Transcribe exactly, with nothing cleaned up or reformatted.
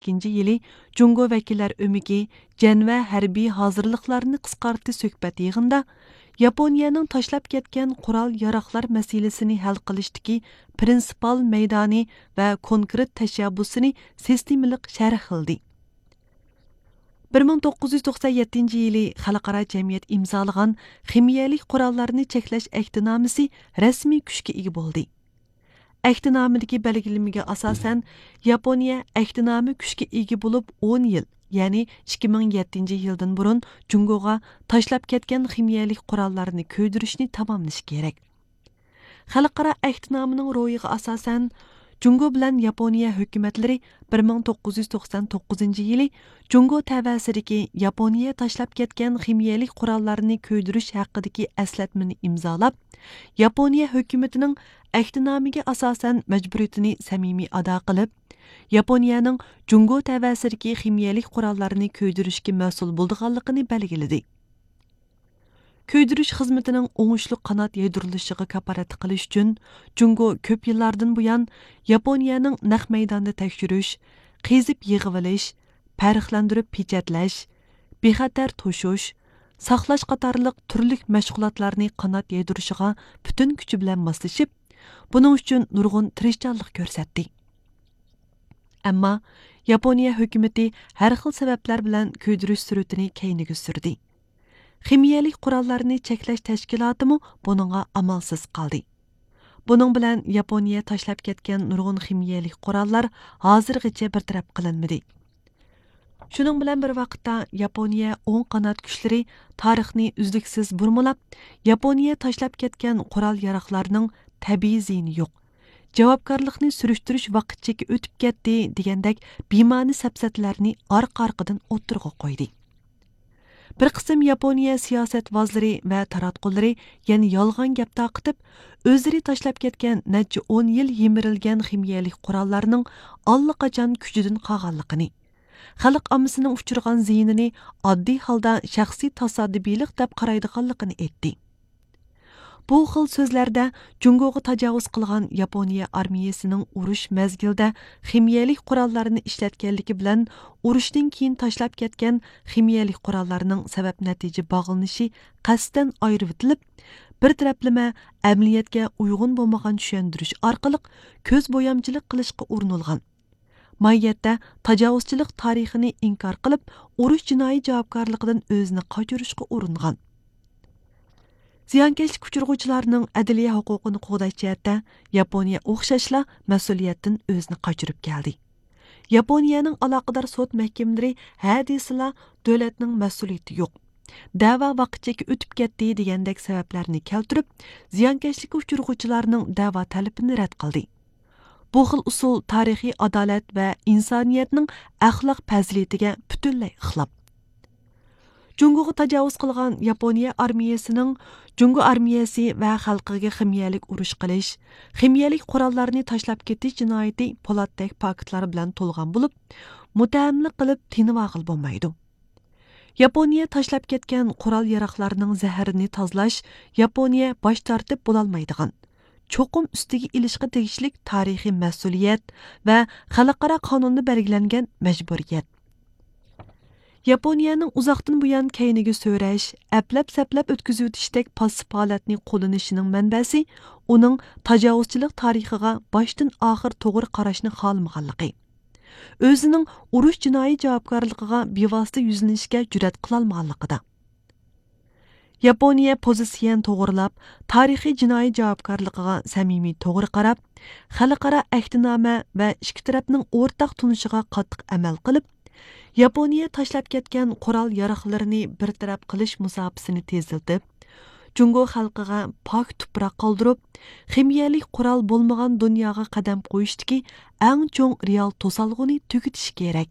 ئىككىنچى يىلى جۇڭگو ۋەكىللەر ئۆمىكى جەنۋە ھەربىي ھازىرلىقلارنى قىسقارتتى سۆھبەت يىغىنىدا ياپونىيەنىڭ تاشلاپ كەتكەن قورال ياراغلار مەسىلىسىنى ھەل قىلىشتىكى پرىنسىپال مەيدانى ۋە كونكرېت تەشەببۇسىنى سىستېمىلىق شەرھلىدى. بىر مىڭ توققۇز يۈز توقسان يەتتىنچى يىلى خەلقئارا جەمئىيەت ئىمزالىغان خىمىيەلىك قوراللارنى چەكلەش ئەھدىنامىسى رەسمىي كۈچكە ئىگە بولدى. ئەھدىنامىدىكى بەلگىلىمىگە ئاساسەن، ياپونىيە ئەھدىنامە كۈچكە ئىگە بولۇپ ئون يىل، يەنى ئىككى مىڭ يەتتىنچى يىلدىن بۇرۇن جۇڭگوغا تاشلاپ كەتكەن خىمىيەلىك قوراللارنى كۆيدۈرۈشنى تاماملىشى كېرەك. خەلقئارا ئەھدىنامىنىڭ روھىغا ئاساسەن، جۇڭگو بىلەن ياپونىيە ھۆكۈمەتلىرى بىر مىڭ توققۇز يۈز توقسان توققۇزىنچى يىلى جۇڭگو تەۋەسىدىكى ياپونىيە تاشلاپ كەتكەن خىمىيەلىك قوراللارنى كۆيدۈرۈش ھەققىدىكى ئەسلەتمىنى ئىمزالاپ، ياپونىيە ھۆكۈمىتىنىڭ ئەھدىنامىگە ئاساسەن مەجبۇرىيىتىنى سەمىمىي ئادا قىلىپ، ياپونىيەنىڭ جۇڭگو تەۋەسىدىكى خىمىيەلىك قوراللارنى كۆيدۈرۈشكە مەسئۇل بولىدىغانلىقىنى بەلگىلىدى. كۆيدۈرۈش خىزمىتىنىڭ ئوڭۇشلۇق قانات يايدۇرۇلۇشىغا كاپالەتلىك قىلىش ئۈچۈن، جۇڭگو كۆپ يىللاردىن بۇيان ياپونىيەنىڭ نەق مەيداندا تەكشۈرۈش، قېزىپ يىغىۋېلىش، پەرقلەندۈرۈپ پېچەتلەش، بىخەتەر توشۇش، ساقلاش قاتارلىق تۈرلۈك مەشغۇلاتلارنى قانات يايدۇرۇشىغا پۈتۈن كۈچى بىلەن ماسلىشىپ، بۇنىڭ ئۈچۈن نۇرغۇن تىرىشچانلىق كۆرسەتتى. ئەمما ياپونىيە ھۆكۈمىتى ھەر خىل سەۋەبلەر بىلەن كۆيدۈرۈش سۈرئىتىنى كەينىگە سۈردى. خىمىيەلىك قوراللارنى چەكلەش تەشكىلاتىمۇ بۇنىڭغا ئامالسىز قالدى. بۇنىڭ بىلەن ياپونىيە تاشلاپ كەتكەن نۇرغۇن خىمىيەلىك قوراللار ھازىرغىچە بىر تەرەپ قىلىنمىدى. شۇنىڭ بىلەن بىر ۋاقىتتا، ياپونىيە ئوڭ قانات كۈچلىرى تارىخنى ئۈزلۈكسىز بۇرمىلاپ، ياپونىيە تاشلاپ كەتكەن قورال ياراغلارنىڭ تەبىئىي زىيىنى يوق، جاۋابكارلىقنى سۈرۈشتۈرۈش ۋاقىت چېكى ئۆتۈپ كەتتى دېگەندەك بىمەنە سەپسەتىلەرنى ئارقا-ئارقىدىن ئوتتۇرىغا قويدى. بىر قىسىم ياپونىيە سىياسەتۋازلىرى ۋە تاراتقۇلىرى يەنە يالغان گەپ تارقىتىپ، ئۆزلىرى تاشلاپ كەتكەن نەچچە ئون يىل يىمىرىلگەن خىمىيەلىك قوراللارنىڭ ئاللىقاچان كۈچىدىن قالغانلىقىنى، خەلق ئاممىسىنىڭ ئۇچرىغان زىيىنىنى ئاددىي ھالدا شەخسىي تاسادىپىيلىق دەپ قارايدىغانلىقىنى ئېيتتى. بۇ خىل سۆزلەردە جۇڭگوغا تاجاۋۇز قىلغان ياپونىيە ئارمىيەسىنىڭ ئۇرۇش مەزگىلىدە خىمىيەلىك قوراللارنى ئىشلەتكەنلىكى بىلەن ئۇرۇشتىن كېيىن تاشلاپ كەتكەن خىمىيەلىك قوراللارنىڭ سەۋەب نەتىجە باغلىنىشى قەستەن ئايرىۋېتىلىپ، بىر تەرەپلىمە ئەمەلىيەتكە ئۇيغۇن بولمىغان چۈشەندۈرۈش ئارقىلىق كۆز بويامچىلىق قىلىشقا ئۇرۇنۇلغان. ماھىيەتتە تاجاۋۇزچىلىق تارىخىنى ئىنكار قىلىپ، ئۇرۇش جىنايى جاۋابكارلىقىدىن ئۆزىنى قاچۇرۇشقا ئۇرۇنغان. زىيانكەشلىك ئۇچرىغۇچىلارنىڭ ئەدلىيە ھوقۇقىنى قوغداش جەھەتتە ياپونىيە ئوخشاشلا مەسئۇلىيەتتىن ئۆزىنى قاچۇرۇپ كەلدى. ياپونىيەنىڭ ئالاقىدار سوت مەھكىمىلىرى ھە دېسىلا دۆلەتنىڭ مەسئۇلىيىتى يوق، دەۋا ۋاقىت چېكى ئۆتۈپ كەتتى دېگەندەك سەۋەبلەرنى كەلتۈرۈپ، زىيانكەشلىككە ئۇچرىغۇچىلارنىڭ دەۋا تەلىپىنى رەت قىلدى. بۇ خىل ئۇسۇل تارىخىي ئادالەت ۋە ئىنسانىيەتنىڭ ئەخلاق پەزىلىتىگە پۈتۈنلەي خىلاپ. جۇڭگوغا تاجاۋۇز قىلغان ياپونىيە ئارمىيەسىنىڭ جۇڭگو ئارمىيەسى ۋە خەلقىگە خىمىيەلىك ئۇرۇش قىلىش، خىمىيەلىك قوراللارنى تاشلاپ كېتىش جىنايىتى پولاتتەك پاكىتلار بىلەن تولغان بولۇپ، مۇتتەھەملىك قىلىپ تىنىۋالغىلى بولمايدۇ. ياپونىيە تاشلاپ كەتكەن قورال ياراغلارنىڭ زەھىرىنى تازىلاش ياپونىيە باش تارتىپ بولالمايدىغان، چوقۇم ئۈستىگە ئېلىشقا تېگىشلىك تارىخىي مەسئۇلىيەت ۋە خەلقئارا قانۇندا بەلگىلەنگەن مەجبۇرىيەت. ياپونىيەنىڭ ئۇزاقتىن بۇيان كەينىگە سۆرەش، ئەپلەپ-سەپلەپ ئۆتكۈزۈۋېتىشتەك پاسسىپ ھالەتنى قوللىنىشىنىڭ مەنبەسى ئۇنىڭ تاجاۋۇزچىلىق تارىخىغا باشتىن ئاخىر توغرا قاراشنى خالىمىغانلىقى، ئۆزىنىڭ ئۇرۇش جىنايى جاۋابكارلىقىغا بىۋاسىتە يۈزلىنىشكە جۈرئەت قىلالمىغانلىقىدا. ياپونىيە پوزىتسىيەنى توغرىلاپ، تارىخىي جىنايى جاۋابكارلىقىغا سەمىمىي توغرا قاراپ، خەلقئارا ئەھدىنامە ۋە ئىككى تەرەپنىڭ ئورتاق تونۇشىغا قاتتىق ئەمەل قىلىپ، ياپونىيە تاشلاپ كەتكەن قورال ياراغلىرىنى بىر تەرەپ قىلىش مۇساپىسىنى تېزلىتىپ، جۇڭگو خەلقىگە پاك تۇپراق قالدۇرۇپ، خىمىيەلىك قورال بولمىغان دۇنياغا قەدەم قويۇشتىكى ئەڭ چوڭ رېئال توسالغۇنى تۈگىتىشى كېرەك.